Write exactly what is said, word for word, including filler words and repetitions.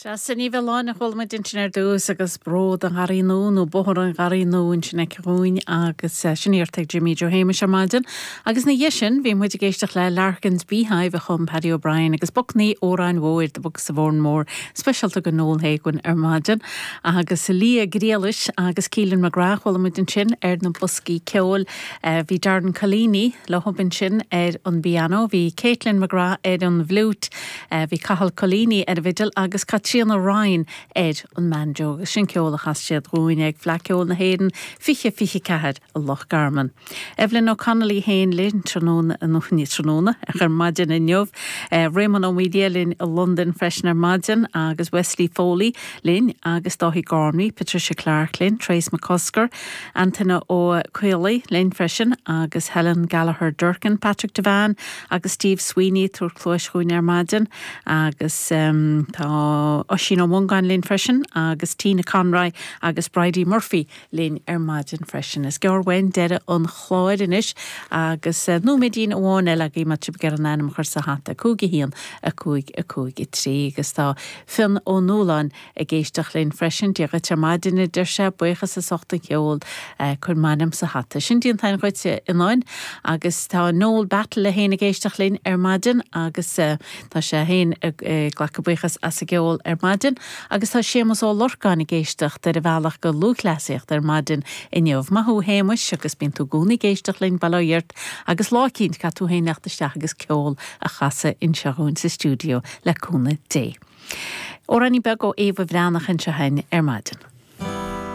Sea, Sin Í Bhealláin a chuala muid ansin ar dtús agus Bród an Gharraí Nua nó Bóthar an Gharraí Nua ansin aici dhúinn agus eh, sin iarrta ag Jimmy Joe Shéamuis ar maidin. Agus ina dhiaidh sin bhí muid ag éisteacht le Larkin's Beehive a chum Paddy O'Brien agus Bucknaí Óráin Mhóir The Bucks of Oranmore speisialta go Noel Hagan ar maidin agus Lia Grialis agus Keelan McGrath chuala muid ansin ar na boscaí ceoil. Eh, bhí Darren Collini le ansin ar an bpianó, bhí Caitlin McGrath ar an bhfliúit, eh, bhí Cathal Collini ar an bhfidil agus Caitríona Ryan ar an mbanjo agus sin ceol a chas siad dhúinn ag Fleadh Cheoil na hÉireann fiche fiche ceathair i Loch Garman. Evelyn O'Connell féin linn tráthnóna nó ní tráthnóna ar maidin inniu. Eh, Raymond Ó Mília linn i London freisin ar maidin agus Wesley Foley linn agus Dáithí Gormley, Patricia Clark linn, Trace McCusker, Antaine Ó Caola linn freisin agus Helen Gallagher Durkin, Patrick Devan agus Steve Sweeney ag tabhairt cluas dhúinn ar maidin agus um, tá Oisín Ó Mongáin linn freisin agus Tina Conroy agus Bridie Murphy linn ar maidin freisin. Is gearr uainn deireadh an chláir anois agus uh, nóiméidín amháin eile agaibh má tá sibh ag iarraidh ainm a chur sa hata cúig a haon a cúig a cúig a trí agus tá Fionn Ó Nualláin ag éisteacht linn freisin Dia dhuit ar maidin a deir sé buíochas as ucht an cheol uh, cuir m'ainm sa hata. Sin déanta agat a Fhionnáin agus tá Noel Battle féin ag éisteacht linn ar maidin agus uh, tá sé féin ag glacadh buíochas as an gceol ar maidin agus tá Séamus Ó Lorcáin ag éisteacht ar a bhealach go lúthchleasaíocht ar maidin inniu. Maith thú a Shéamuis agus bíonn tú i gcónaí ag éisteacht linn bail ó Dhia ort agus lá éicint caithfidh tú féin teacht isteach agus ceol a chasadh anseo dhúinn sa stiúideo le cúnamh Dé. Amhráinín beag ó Éabha Bhreathnach anseo ar maidin.